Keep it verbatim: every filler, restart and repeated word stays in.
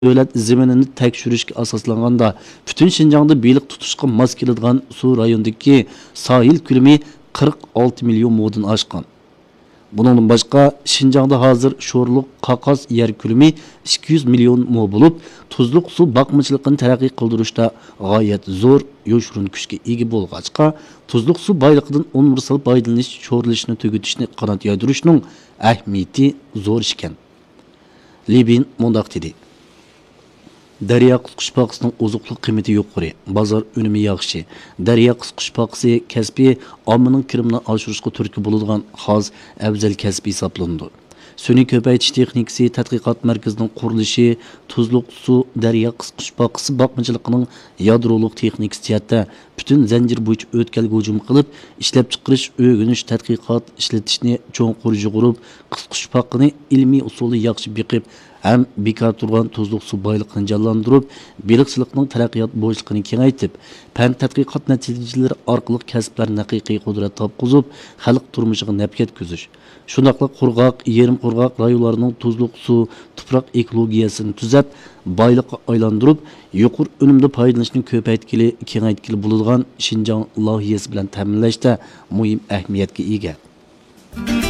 دۆلەت زېمىنىنى تەكشۈرۈشكە ئاساسلانغاندا، پۈتۈن شىنجاڭدا بېلىق تۇتۇشقا ماس كېلىدىغان سۇ رايونىدىكى ساھىل كۆلىمى قىرىق ئالتە مىليون مودىن ئاشقان. بۇنىڭدىن باشقا، شىنجاڭدا ھازىر شورلۇق قاقاس يەر كۆلىمى ئىككى يۈز مىليون مو بولۇپ، تۇزلۇق سۇ باقمىچىلىقىنى تەرەققىي قىلدۇرۇشتا غايەت زور يوشۇرۇن كۈچكە ئىگە بولغاچقا، تۇزلۇق سۇ بايلىقىدىن ئۇنىۋېرسال پايدىلىنىش، شورلىشىشنى تۈگىتىشنى قانات يايدۇرۇشنىڭ ئەھمىيىتى زور ئىكەن. لېبىن مۇنداق دېدى: دەريا قىسقۇچپاقىسىنىڭ ئوزۇقلۇق قىممىتى يۇقىرى، بازار ئۈنۈمى ياخشى. دەريا قىسقۇچپاقىسى كەسپى ئاممىنىڭ كىرىمىنى ئاشۇرۇشقا تۈرتكە بولىدىغان خاس، ئەۋزەل كەسىپ ھېسابلىنىدۇ. سۈنئىي كۆپەيتىش تېخنىكىسى تەتقىقات مەركىزىنىڭ قۇرۇلۇشى تۇزلۇق سۇ دەريا قىسقۇچپاقىسى باقمىچىلىقىنىڭ يادرولۇق تېخنىكىسى جەھەتتە پۈتۈن زەنجىر بويىچە ئۆتكەلگە ھۇجۇم قىلىپ، ئىشلەپچىقىرىش، ئۆگىنىش، تەتقىقات، ئىشلىتىشنى چوڭقۇر يۇغۇرۇپ، قىسقۇچپاقىنى ئىلمىي ئۇسۇلدا ياخشى بېقىپ، ھەم بىكار تۇرغان تۇزلۇق سۇ بايلىقىنى جانلاندۇرۇپ، بېلىقچىلىقنىڭ تەرەققىيات بوشلۇقىنى كېڭەيتىپ، پەن تەتقىقات نەتىجىلىرى ئارقىلىق كەسىپلەرنى ھەقىقىي قۇدرەت تاپقۇزۇپ، خەلق تۇرمۇشىغا نەپ يەتكۈزۈش، شۇنداقلا قۇرغاق، يېرىم قۇرغاق رايونلارنىڭ تۇزلۇق سۇ، تۇپراق ئېكولوگىيەسىنى تۈزەپ، بايلىققا ئايلاندۇرۇپ، يۇقىرى ئۈنۈمدە پايدىلىنىشنى كۆپەيتكىلى، كېڭەيتكىلى بولىدىغان شىنجاڭ لايىھەسى بىلەن تەمىنلەشتە مۇھىم ئەھمىيەتكە ئىگە.